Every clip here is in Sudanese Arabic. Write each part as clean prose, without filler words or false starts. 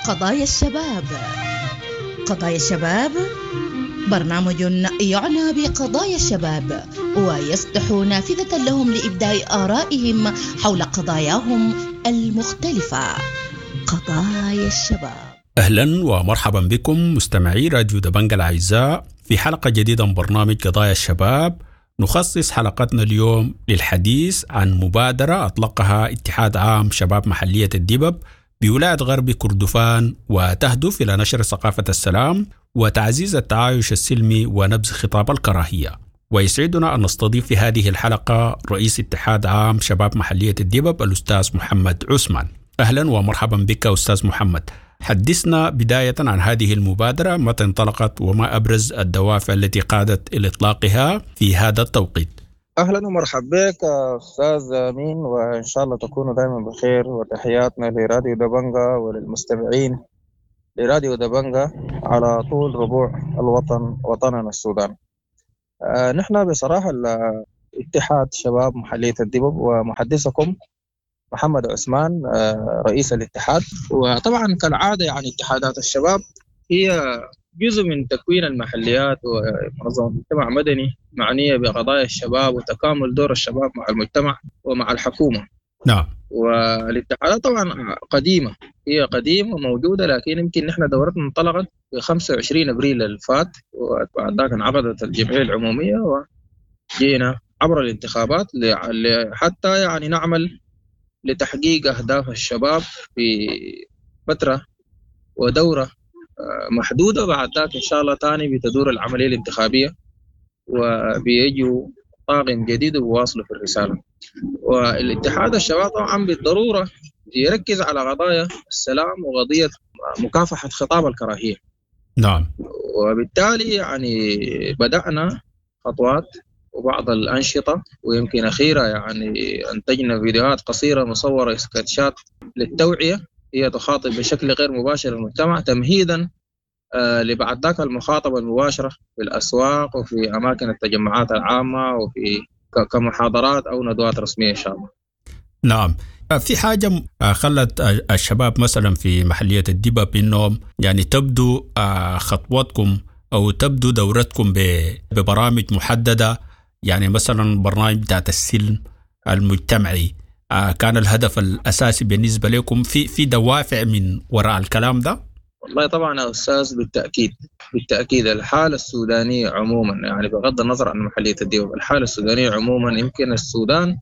قضايا الشباب. قضايا الشباب برنامج يعنى بقضايا الشباب ويفتح نافذة لهم لإبداء آرائهم حول قضاياهم المختلفة. قضايا الشباب. أهلا ومرحبا بكم مستمعي راديو دبنجة الأعزاء في حلقة جديدة من برنامج قضايا الشباب. نخصص حلقتنا اليوم للحديث عن مبادرة أطلقها اتحاد عام شباب محلية الدبب بولاية غرب كردفان، وتهدف إلى نشر ثقافة السلام وتعزيز التعايش السلمي ونبذ خطاب الكراهية. ويسعدنا أن نستضيف في هذه الحلقة رئيس اتحاد عام شباب محلية الدبب الأستاذ محمد عثمان. أهلا ومرحبا بك أستاذ محمد. حدثنا بداية عن هذه المبادرة، متى انطلقت وما أبرز الدوافع التي قادت إلى إطلاقها في هذا التوقيت؟ أهلا ومرحبا بك أستاذ أمين، وإن شاء الله تكونوا دائما بخير، وتحياتنا لراديو دبنجا وللمستمعين لراديو دبنجا على طول ربوع الوطن، وطننا السودان. نحن بصراحة اتحاد شباب محلية الدبب ومحدثكم محمد عثمان رئيس الاتحاد. وطبعا كالعادة يعني اتحادات الشباب هي جزء من تكوين المحليات ومنظمة مجتمع مدني معنية بقضايا الشباب وتكامل دور الشباب مع المجتمع ومع الحكومة. نعم. والاتحادات طبعا قديمة، هي قديمة وموجودة، لكن يمكن نحن دورتنا انطلقت في 25 أبريل الفات، وبعد ذاك انعقدت الجمعية العمومية وجينا عبر الانتخابات حتى يعني نعمل لتحقيق أهداف الشباب في فترة ودورة محدودة. بعد ذاك إن شاء الله تاني بتدور العملية الانتخابية وبيجوا طاقم جديد وبيواصلوا في الرسالة. والاتحاد الشباب طبعا بالضرورة يركز على قضايا السلام وقضية مكافحة خطاب الكراهية. نعم. وبالتالي يعني بدأنا خطوات وبعض الأنشطة، ويمكن أخيرا يعني أنتجنا فيديوهات قصيرة مصورة سكتشات للتوعية، هي تخاطب بشكل غير مباشر المجتمع تمهيدا لبعد ذاك المخاطبة المباشرة في الأسواق وفي أماكن التجمعات العامة وفي كمحاضرات أو ندوات رسمية إن شاء الله. نعم. في حاجة خلت الشباب مثلا في محلية الدبب إنهم يعني تبدو خطوتكم أو تبدو دورتكم ببرامج محددة، يعني مثلا برنامج بتاعت السلم المجتمعي كان الهدف الأساسي بالنسبة لكم، في دوافع من وراء الكلام ده؟ والله طبعا يا أستاذ بالتأكيد الحالة السودانية عموما، يعني بغض النظر عن محلية الدبب، الحالة السودانية عموما يمكن السودان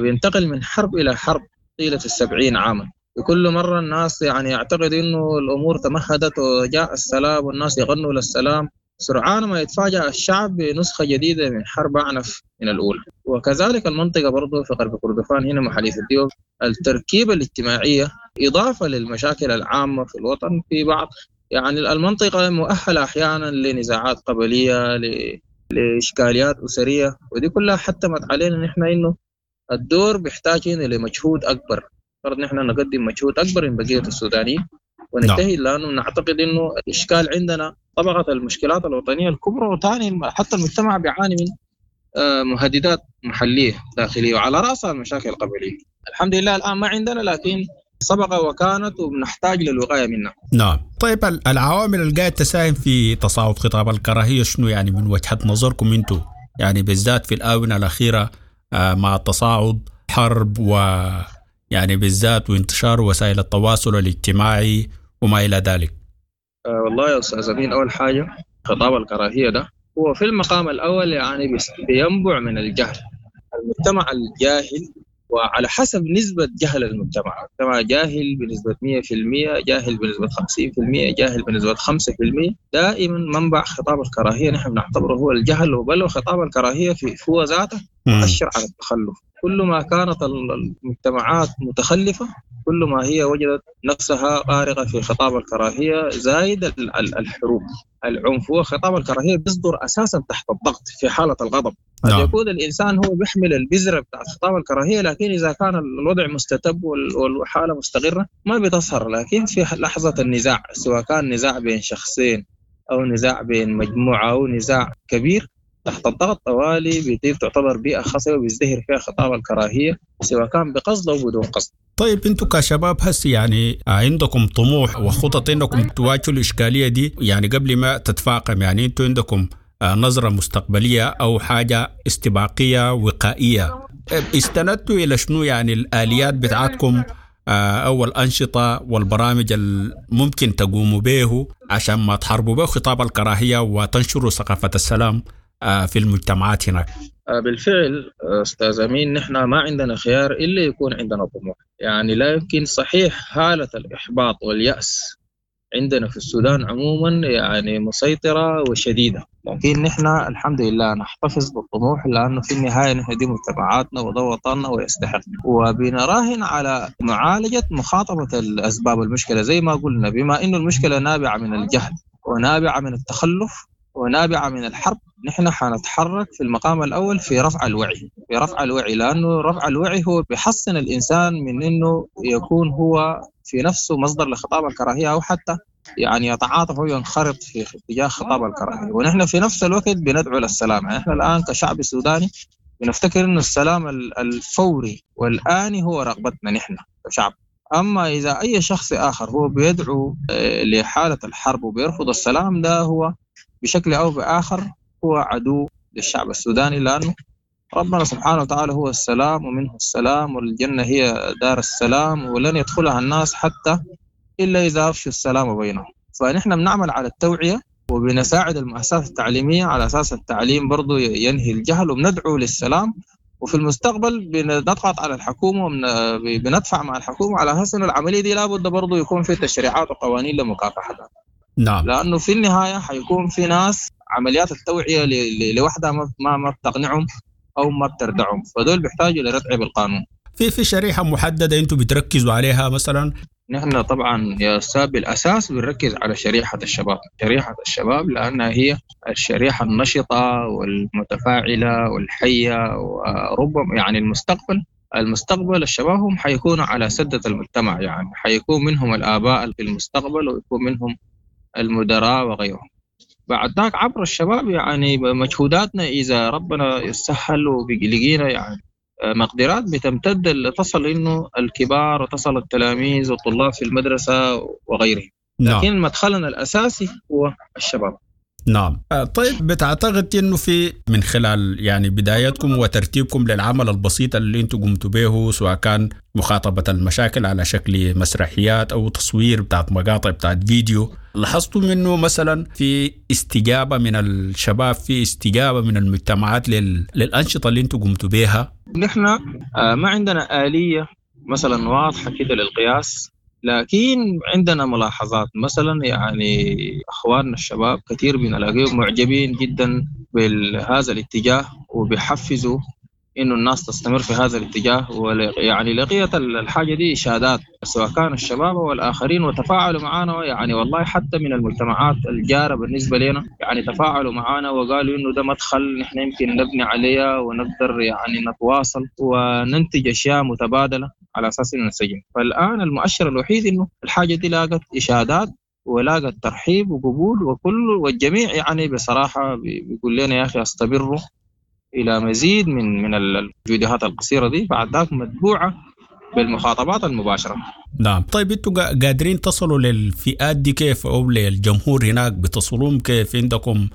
بينتقل من حرب إلى حرب طيلة 70 عاما. وكل مرة الناس يعني يعتقد إنه الأمور تمهدت وجاء السلام والناس يغنوا للسلام، سرعان ما يتفاجأ الشعب بنسخة جديدة من حرب أعنف من الأولى. وكذلك المنطقة برضو في غرب كردفان هنا محلية الدبب، التركيبة الاجتماعية إضافة للمشاكل العامة في الوطن، في بعض يعني المنطقة مؤهلة أحيانا لنزاعات قبلية، لإشكاليات أسرية، ودي كلها حتمت علينا نحن إنه الدور بيحتاج هنا لمجهود أكبر. فرض نحن نقدم مجهود أكبر من بقية السودانيين وننتهي، لأنه نعتقد إنه الإشكال عندنا طبقة المشكلات الوطنية الكبرى، وثاني حتى المجتمع بيعاني من مهددات محلية داخلية وعلى رأسها المشاكل القبلية. الحمد لله الآن ما عندنا، لكن سبق وكانت وبنحتاج للوقاية منها. نعم. طيب العوامل اللي قاعد تساهم في تصاعد خطاب الكراهية شنو يعني من وجهة نظركم انتو، يعني بالذات في الآونة الأخيرة مع تصاعد حرب و يعني بالذات وانتشار وسائل التواصل الاجتماعي وما إلى ذلك؟ والله يا أستاذ أمين، أول حاجة خطاب الكراهية ده هو في المقام الأول يعني بينبع من الجهل، المجتمع الجاهل، وعلى حسب نسبة جهل المجتمع، المجتمع جاهل بنسبة 100%، جاهل بنسبة 50%، جاهل بنسبة 5%. دائما منبع خطاب الكراهية نحن نعتبره هو الجهل، وبل خطاب الكراهية في هو ذاته مؤشر على التخلف. كل ما كانت المجتمعات متخلفة كل ما هي وجدت نفسها غارقة في خطاب الكراهية، زايد الحروب، العنف. هو خطاب الكراهية بيصدر أساسا تحت الضغط في حالة الغضب. قد يكون الإنسان هو بيحمل البذرة بتاع خطاب الكراهية، لكن إذا كان الوضع مستتب والحالة مستقرة ما بتظهر. لكن في لحظة النزاع، سواء كان نزاع بين شخصين أو نزاع بين مجموعة أو نزاع كبير، تحت الضغط طوالي بيطير، تعتبر بيئة خصبة وبيزدهر فيها خطاب الكراهية سواء كان بقصد أو بدون قصد. طيب انتم كشباب هسي يعني عندكم طموح وخطط انكم تواجهوا الاشكالية دي يعني قبل ما تتفاقم، يعني انتم عندكم نظره مستقبلية او حاجة استباقية وقائيه، استندتوا الى شنو يعني الاليات بتاعتكم او الانشطة والبرامج الممكن تقوموا به عشان ما تحاربوا به خطاب الكراهية وتنشروا ثقافة السلام في المجتمعات هناك؟ بالفعل استاذ امين، نحن ما عندنا خيار الا يكون عندنا طموح. يعني لا يمكن، صحيح حاله الاحباط والياس عندنا في السودان عموما يعني مسيطرة وشديده، لكن نحن الحمد لله نحتفظ بالطموح، لانه في النهاية نحن دي مجتمعاتنا وده وطننا ويستحق، وبنراهن على معالجة مخاطبه الاسباب المشكلة زي ما قلنا، بما انه المشكلة نابعة من الجهل ونابعه من التخلف ونابعة من الحرب، نحن حنتحرك في المقام الأول في رفع الوعي، في رفع الوعي، لأنه رفع الوعي هو بيحصن الإنسان من أنه يكون هو في نفسه مصدر لخطاب الكراهية أو حتى يعني يتعاطف وينخرط في اتجاه خطاب الكراهية. ونحن في نفس الوقت بندعو للسلام. يعني نحن الآن كشعب سوداني بنفتكر أنه السلام الفوري والآني هو رغبتنا نحن كشعب. أما إذا أي شخص آخر هو بيدعو لحالة الحرب وبيرفض السلام، ده هو بشكل أو بآخر هو عدو للشعب السوداني، لأنه ربنا سبحانه وتعالى هو السلام ومنه السلام، والجنة هي دار السلام ولن يدخلها الناس حتى إلا إذا أفشوا السلام بينهم. فنحن بنعمل على التوعية وبنساعد المؤسسات التعليمية على أساس التعليم برضو ينهي الجهل، وبندعو للسلام، وفي المستقبل بنضغط على الحكومة وبندفع مع الحكومة على أساس أن العملية دي لابد برضو يكون في تشريعات وقوانين لمكافحتها. نعم. لأنه في النهاية حيكون في ناس عمليات التوعية لوحدها ما بتقنعهم أو ما بتردعهم، فدول بيحتاجوا لردع بالقانون. في شريحة محددة أنتم بتركزوا عليها مثلا؟ نحن طبعا يا أستاذ بالأساس بنركز على شريحة الشباب، شريحة الشباب لأنها هي الشريحة النشطة والمتفاعلة والحية، وربما يعني المستقبل الشباب هم حيكونوا على سدة المجتمع، يعني حيكون منهم الآباء في المستقبل ويكون منهم المدراء وغيرهم. بعد ذاك عبر الشباب يعني مجهوداتنا إذا ربنا يسهل وبيلقينا يعني مقدرات بتمتد تصل إنه الكبار وتصل التلاميذ والطلاب في المدرسة وغيرهم. نعم. لكن مدخلنا الأساسي هو الشباب. نعم. طيب بتعتقد إنه في من خلال يعني بدايتكم وترتيبكم للعمل البسيط اللي أنتم قمتوا به، سواء كان مخاطبة المشاكل على شكل مسرحيات أو تصوير بتاعت مقاطع بتاعت فيديو، لاحظتوا منه مثلا في استجابة من الشباب، في استجابة من المجتمعات للأنشطة اللي أنتم قمتوا بها؟ نحن ما عندنا آلية مثلا واضحة كده للقياس، لكن عندنا ملاحظات. مثلا يعني أخواننا الشباب كثير بنلاقيهم معجبين جدا بهذا الاتجاه وبيحفزوا إنه الناس تستمر في هذا الاتجاه، ويعني لقيت الحاجة دي إشادات سواء كان الشباب والآخرين، وتفاعلوا معنا. يعني والله حتى من المجتمعات الجارة بالنسبة لنا يعني تفاعلوا معنا وقالوا إنه ده مدخل نحن يمكن نبني عليه ونقدر يعني نتواصل وننتج أشياء متبادلة على أساس إنه نسجل. فالآن المؤشر الوحيد إنه الحاجة دي لاقت إشادات ولاقت ترحيب وقبول، وكل والجميع يعني بصراحة بيقول لنا يا أخي استمروا إلى مزيد من الفيديوهات القصيرة دي، بعد ذاك متبوعة بالمخاطبات المباشرة. نعم. طيب انتوا قادرين تصلوا للفئات دي كيف، أو للجمهور هناك بتصلون كيف؟ عندكم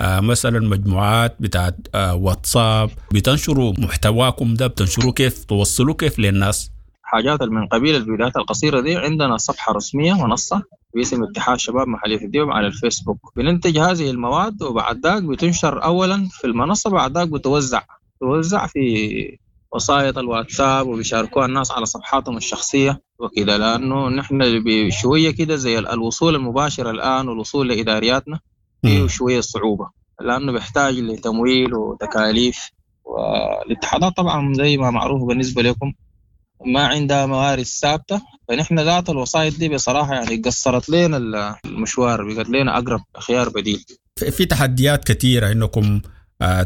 مثلا مجموعات بتاعت واتساب بتنشروا محتواكم ده، بتنشروا كيف، توصلوا كيف للناس؟ حاجات من قبيل الفيديوهات القصيرة دي عندنا صفحة رسمية منصة باسم اتحاد شباب محلية الديوم على الفيسبوك، بننتج هذه المواد وبعد ذاك بتنشر أولا في المنصة، بعد ذاك بتوزع في وسائط الواتساب وبيشاركوها الناس على صفحاتهم الشخصية وكذا. لأنه نحن شوية كده زي الوصول المباشر الآن والوصول لإدارياتنا فيه شوية صعوبة، لأنه بيحتاج لتمويل وتكاليف، والاتحادات طبعا زي ما معروف بالنسبة لكم ما عندها موارد ثابتة، فنحن ذات الوسائط دي بصراحة يعني قصرت لنا المشوار، بقت لنا أقرب خيار بديل. في تحديات كثيرة إنكم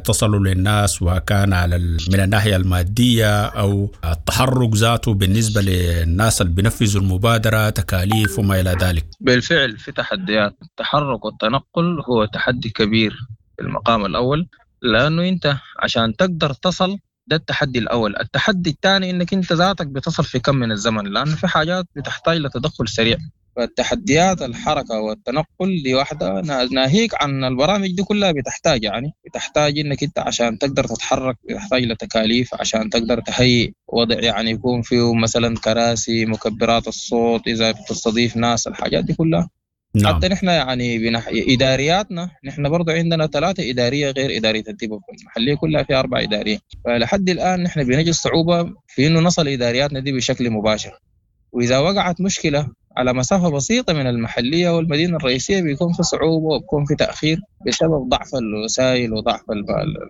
تصلوا للناس، وكان على من الناحية المادية أو التحرك ذاته بالنسبة للناس اللي بينفذوا المبادرة، تكاليف وما إلى ذلك. بالفعل في تحديات، التحرك والتنقل هو تحدي كبير في المقام الأول. لأنه أنت عشان تقدر تصل ده التحدي الأول. التحدي الثاني إنك أنت ذاتك بتصل في كم من الزمن، لأنه في حاجات بتحتاج لتدخل سريع. فالتحديات الحركة والتنقل دي واحدة، ناهيك عن البرامج دي كلها بتحتاج، يعني بتحتاج إنك أنت عشان تقدر تتحرك بتحتاج لتكاليف عشان تقدر تهيئ وضع يعني يكون فيه مثلا كراسي، مكبرات الصوت، إذا بتستضيف ناس، الحاجات دي كلها. نعم. حتى نحن يعني إدارياتنا نحن برضو عندنا 3 إدارية غير إدارية الديبو، المحلية كلها فيها 4 إدارية. فلحد الآن نحن بنجد صعوبة في إنه نصل إدارياتنا دي بشكل مباشر، وإذا وقعت مشكلة على مسافة بسيطة من المحلية والمدينة الرئيسية بيكون في صعوبة وبيكون في تأخير بسبب ضعف الوسائل وضعف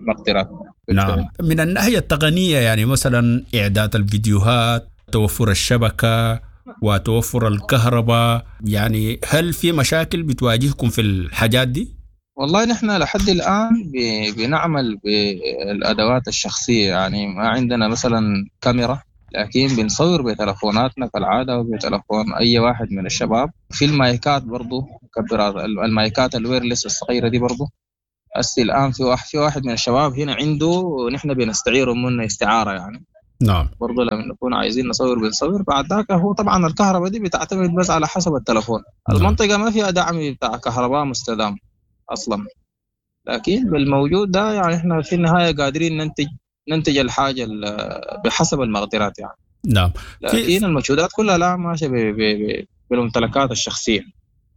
المقدرات. نعم. من الناحية التقنية يعني مثلا إعداد الفيديوهات، توفر الشبكة وتوفر الكهرباء، يعني هل في مشاكل بتواجهكم في الحاجات دي؟ والله نحن لحد الآن بنعمل بالأدوات الشخصية، يعني ما عندنا مثلا كاميرا، لكن بنصور بتلفوناتنا كالعادة وبتلفون أي واحد من الشباب. في المايكات برضو، مكبرات المايكات ال wireless الصغيرة دي برضو. هسي الآن في واحد من الشباب هنا عنده، ونحن بنستعيره منه استعارة يعني. نعم. برضو لما نكون عايزين نصور بنصور. بعد ذاك هو طبعا الكهرباء دي بتعتمد بس على حسب التلفون. نعم. المنطقة ما فيها دعم بتاع كهرباء مستدام أصلا، لكن بالموجود ده يعني احنا في النهاية قادرين ننتج الحاجة بحسب المقدرات يعني. نعم. لكن المجهودات كلها لا ماشية بالممتلكات الشخصية.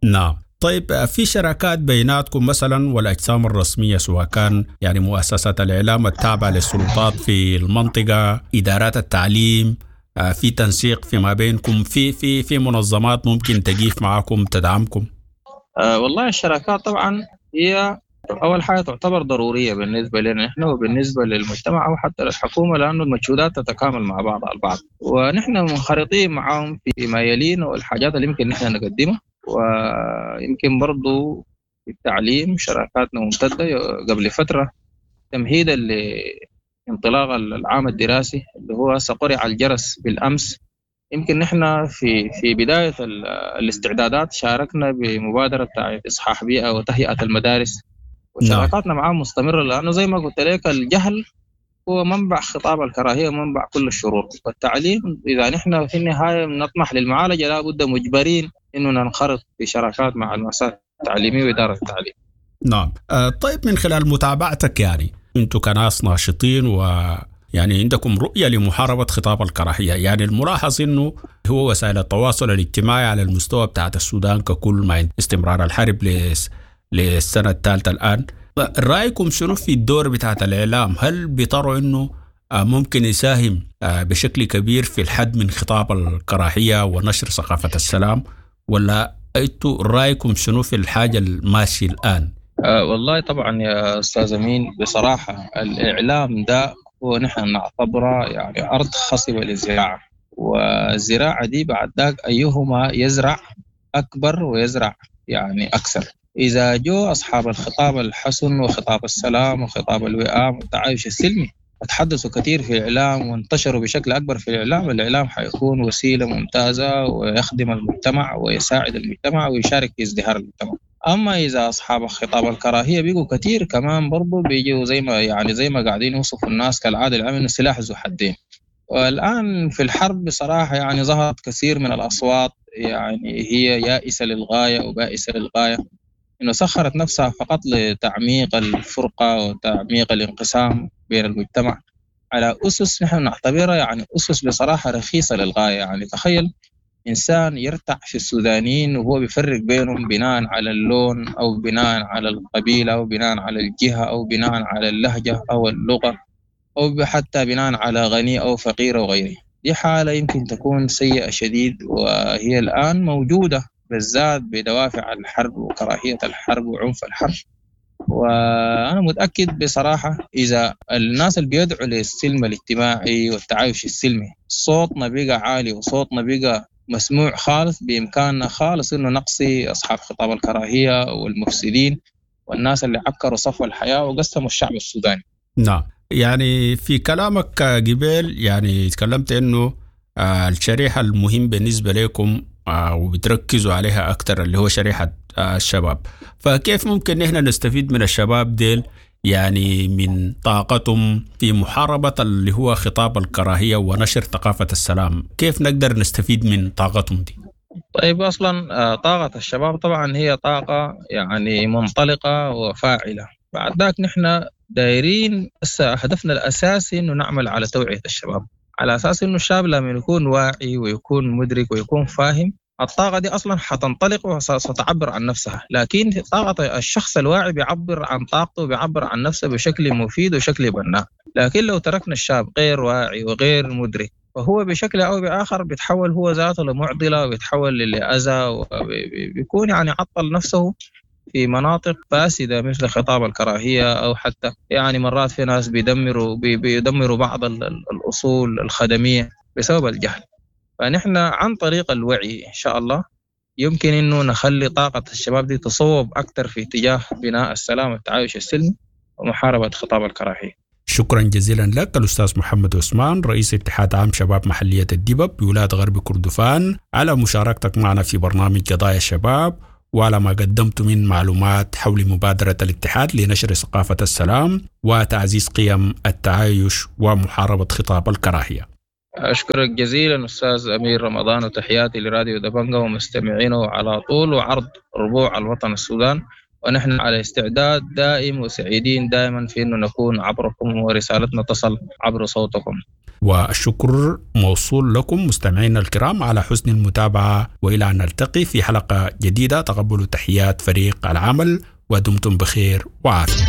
نعم. طيب في شراكات بيناتكم مثلا والأجسام الرسمية، سواء كان يعني مؤسسات الإعلام التابعة للسلطات في المنطقة، إدارات التعليم، في تنسيق فيما بينكم، في في في منظمات ممكن تقيف معكم تدعمكم؟ والله الشراكات طبعا هي أول حاجة تعتبر ضرورية بالنسبة لنا نحن وبالنسبة للمجتمع أو حتى للحكومة، لأنه المجهودات تتكامل مع بعض البعض، ونحن منخرطين معهم فيما يلينا والحاجات اللي يمكن نحن نقدمها. ويمكن برضو في التعليم شراكاتنا ممتدة. قبل فترة تمهيدا لانطلاق العام الدراسي اللي هو سقرع الجرس بالأمس، يمكن نحن في بداية الاستعدادات شاركنا بمبادرة إصحاح بيئة وتهيئة المدارس، وشراكاتنا معهم مستمرة، لأنه زي ما قلت لك الجهل هو منبع خطاب الكراهية ومنبع كل الشرور. والتعليم إذا نحن في النهاية نطمح للمعالجة لابد مجبرين إنه ننخرط في شراكات مع المؤسسات التعليمية وإدارة التعليم. نعم. طيب من خلال متابعتك يعني أنتم كناس ناشطين ويعني عندكم رؤية لمحاربة خطاب الكراهية، يعني الملاحظ إنه هو وسائل التواصل الاجتماعي على المستوى بتاعت السودان ككل مع استمرار الحرب للسنة الثالثة الآن، رأيكم شنو في الدور بتاعت الإعلام؟ هل بتروا إنه ممكن يساهم بشكل كبير في الحد من خطاب الكراهية ونشر ثقافة السلام، ولا أنتوا رأيكم شنو في الحاجة الماشية الآن؟ والله طبعا يا أستاذ أمين، بصراحة الإعلام ده هو نحن نعتبره يعني أرض خصبة للزراعة، والزراعة دي بعد ذاك أيهما يزرع أكبر ويزرع يعني أكثر. إذا جو أصحاب الخطاب الحسن وخطاب السلام وخطاب الوئام والتعايش السلمي تحدثوا كثير في الإعلام وانتشروا بشكل أكبر في الإعلام، الإعلام حيكون وسيلة ممتازة ويخدم المجتمع ويساعد المجتمع ويشارك في ازدهار المجتمع. أما إذا أصحاب خطاب الكراهية بيجوا كثير كمان برضو بيجوا زي ما قاعدين يوصفوا الناس كالعادة العام إنه سلاح ذو حدين. والآن في الحرب بصراحة يعني ظهرت كثير من الأصوات يعني هي يائسة للغاية وبائسة للغاية، إنه سخرت نفسها فقط لتعميق الفرقة وتعميق الانقسام بين المجتمع على أسس نحن نعتبرها يعني أسس بصراحة رخيصة للغاية. يعني تخيل إنسان يرتع في السودانيين وهو بيفرق بينهم بناء على اللون أو بناء على القبيلة أو بناء على الجهة أو بناء على اللهجة أو اللغة أو حتى بناء على غني أو فقير أو غيره. دي حالة يمكن تكون سيئة شديد، وهي الآن موجودة بالذات بدوافع الحرب وكراهية الحرب وعنف الحرب. وأنا متأكد بصراحة إذا الناس اللي بيدعوا للسلم الاجتماعي والتعايش السلمي صوتنا بقى عالي وصوتنا بقى مسموع خالص، بإمكاننا خالص إنه نقصي أصحاب خطاب الكراهية والمفسدين والناس اللي عكروا صفو الحياة وقسموا الشعب السوداني. نعم. يعني في كلامك قبل يعني تكلمت إنه الشريحة المهم بالنسبة لكم وبتركزوا عليها أكثر اللي هو شريحة الشباب، فكيف ممكن نحن نستفيد من الشباب ديل يعني من طاقتهم في محاربة اللي هو خطاب الكراهية ونشر ثقافة السلام؟ كيف نقدر نستفيد من طاقتهم دي؟ طيب، اصلا طاقة الشباب طبعا هي طاقة يعني منطلقة وفاعله. بعد ذاك نحن دايرين هدفنا الاساسي انه نعمل على توعيه الشباب، على اساس انه الشاب لما يكون واعي ويكون مدرك ويكون فاهم، الطاقة دي أصلا حتنطلق وستعبر عن نفسها. لكن طاقة الشخص الواعي بيعبر عن طاقته، بيعبر عن نفسه بشكل مفيد وشكل بناء. لكن لو تركنا الشاب غير واعي وغير مدرك، فهو بشكل أو بآخر بيتحول هو ذاته لمعضلة، وبيتحول لأذى، وبيكون يعني عطل نفسه في مناطق فاسدة مثل خطاب الكراهية، أو حتى يعني مرات في ناس بيدمروا بعض الأصول الخدمية بسبب الجهل. فنحن عن طريق الوعي إن شاء الله يمكن إنه نخلي طاقة الشباب دي تصوب أكثر في اتجاه بناء السلام والتعايش السلمي ومحاربة خطاب الكراهية. شكرا جزيلا لك الأستاذ محمد عثمان، رئيس اتحاد عام شباب محلية الدبب بولاية غرب كردفان، على مشاركتك معنا في برنامج قضايا الشباب، وعلى ما قدمت من معلومات حول مبادرة الاتحاد لنشر ثقافة السلام وتعزيز قيم التعايش ومحاربة خطاب الكراهية. أشكرك جزيلا أستاذ أمير رمضان، وتحياتي لراديو دبنجا ومستمعينه على طول وعرض ربوع الوطن السودان، ونحن على استعداد دائم وسعيدين دائما في أنه نكون عبركم ورسالتنا تصل عبر صوتكم. والشكر موصول لكم مستمعينا الكرام على حسن المتابعة، وإلى أن نلتقي في حلقة جديدة تقبلوا تحيات فريق العمل، ودمتم بخير وعافية.